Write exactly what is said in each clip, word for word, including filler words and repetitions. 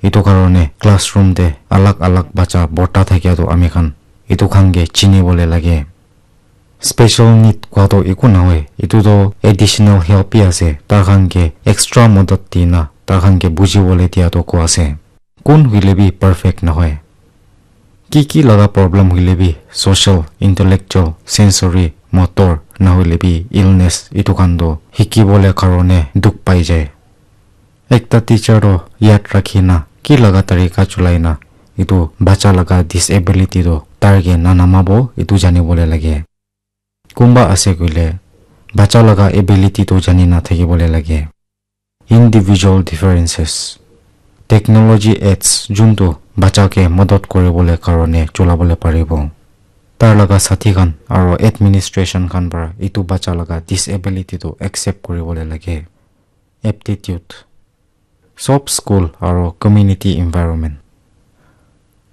Etu karone classroom te alag alag bacha borta thakia toh ami khan etu khan ke chini bole lage. Special need kua toh eku nahoi, etu toh additional help bi ase, tar khan ke extra madad dina tar khan ke buji bole dia toh kua ase. Kun hoile bi perfect nahoi. Ki ki laga problem hoile bi social, intellectual, sensory, motor nahoile bi illness etu khan toh hiki bole karone dukh pai jai. Ekta teacher toh yad rakhi na ki laga tarika cholai na etu bacha laga disability toh tar ke na namabo etu jani bole lage. Kunba ase koile bacha laga ability toh jani na thaki bole lage. Individual differences. Technology aids juntu bacha ke madad kori bole karone chola bole paribo. Tar laga sathi khan aro administration khan para etu bacha laga disability toh accept kori bole lage. Aptitude. Sob school aro community environment.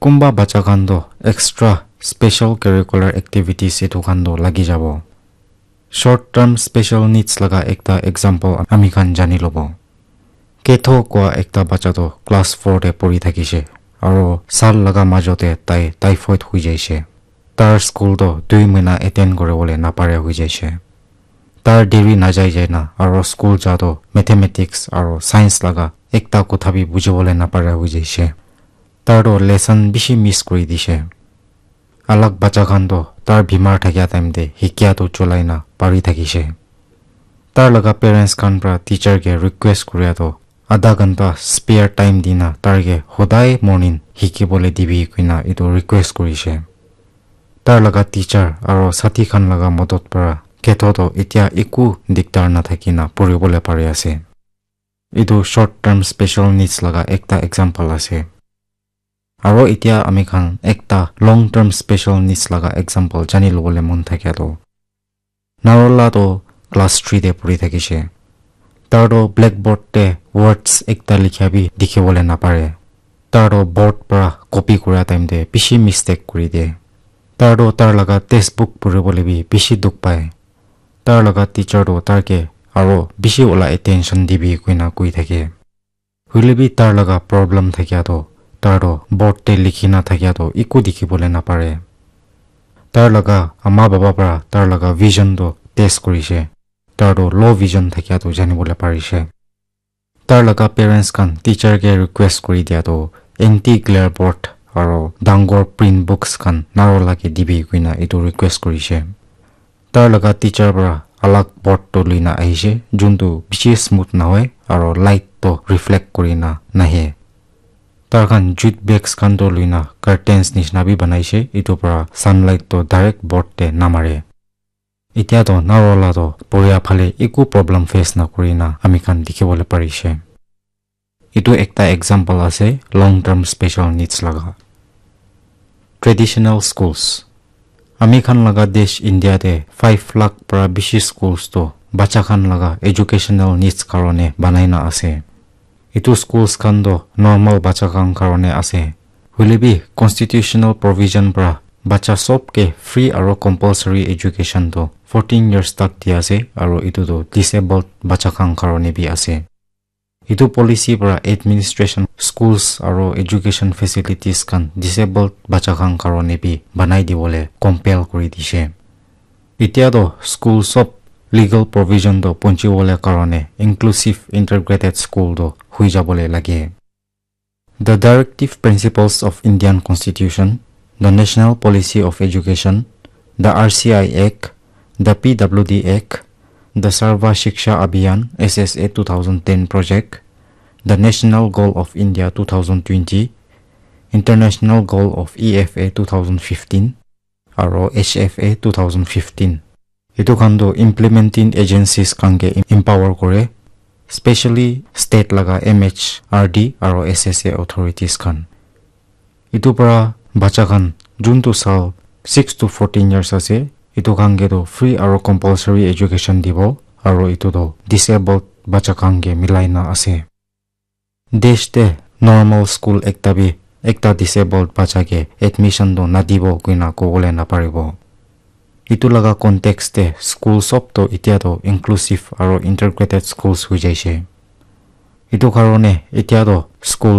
Kunba bacha khan toh extra special curricular activities etu khan toh lagi jabo. Short term special needs laga ekta example ami khan jani lobo. Ketho kua ekta bacha toh class four te pori thakishe aro sal laga majo te tai typhoid hui jaishe. Tar school toh dui mahina attend kori bole na pare hui jaishe. Tar deri na jai jai na aro school ja toh mathematics aro science laga ekta kotha bi buji bole na pare hui jaishe. Tar toh lesson bishi miss kori dishe. Alag bacha khan toh tar bimar thakia time te hikia toh cholai na pari thakishe. Tar laga parents khan para teacher ke request koria toh adha ghanta spare time dina tar ke hodai morning hiki bole dibi koina etu request korishe. Tar laga teacher aro sathi khan laga madad para Ketho toh etia eku diktar na thaki na pori bole pari ase. Etu short term special needs laga ekta example ase. Aro etia ami khan ekta long term special needs laga example jani lobole mon thakia toh Narola toh class three te pori thakishe. Tar toh blackboard te words ekta likhia bi dikhi bole na pare. Tar toh board para copy kura time te bishi mistake kuri de. Tar toh tar laga textbook pori bole bi bishi dukh pai. Tar laga teacher toh tar ke aro bishi wala attention dibi koina koi thake. Hoile bi tar laga problem thakia toh, tar toh board te likhi na thakia toh eku dikhi bole na pare. Tar laga ama baba para tar laga vision toh test korishe. Tar toh low vision thakia toh jani bole parishe. Tar laga parents khan teacher ke request kuri dia toh anti glare board aro dangor print books khan Narola ke dibi koina etu request korishe. Tar laga teacher para alag board toh lui na ahishe, juntu bishi smooth nahoi aro light toh reflect kuri na nahe. Tar khan jute bags khan toh lui na curtains nishina bi banaishe, etu para sunlight toh direct board te na mare. Etia toh Narola toh poria phale eku problem face na kuri na ami khan dikhi bole parishe. Etu ekta example ase long term special needs laga. Traditional schools. Ami khan laga desh India te five lakh para bishi schools toh bacha khan laga educational needs karone banai na ase. Etu schools khan toh normal bacha khan karone ase. Hoile bi constitutional provision para bacha sob ke free aro compulsory education toh fourteen years tak di ase aro etu toh disabled bacha khan karone bi ase. Etu policy para administration, schools aro education facilities khan disabled bacha khan karone bi banai dibole compel kuri dishe. Etia toh school sob legal provision toh ponchi bole karone inclusive integrated school toh hui jabole lage. The directive principles of Indian Constitution, the National Policy of Education, the R C I Act, the P W D Act, the Sarva Shiksha Abhiyan, S S A two thousand ten project, the National Goal of India two thousand twenty, International Goal of E F A two thousand fifteen, aro H F A two thousand fifteen. Etu khan toh implementing agencies khan ke empower kore, specially state laga M H R D aro S S A authorities khan. Etu para bacha khan juntu sal six to fourteen years ase, etu khan ke toh free aro compulsory education dibo, aro etu toh disabled bacha khan ke milai na ase. Desh te normal school ekta bi ekta disabled bacha ke admission toh nadibo koina kobole naparibo. Etu laga context te school sob toh etia toh inclusive aro integrated schools hui jaishe. Etu karone etia toh school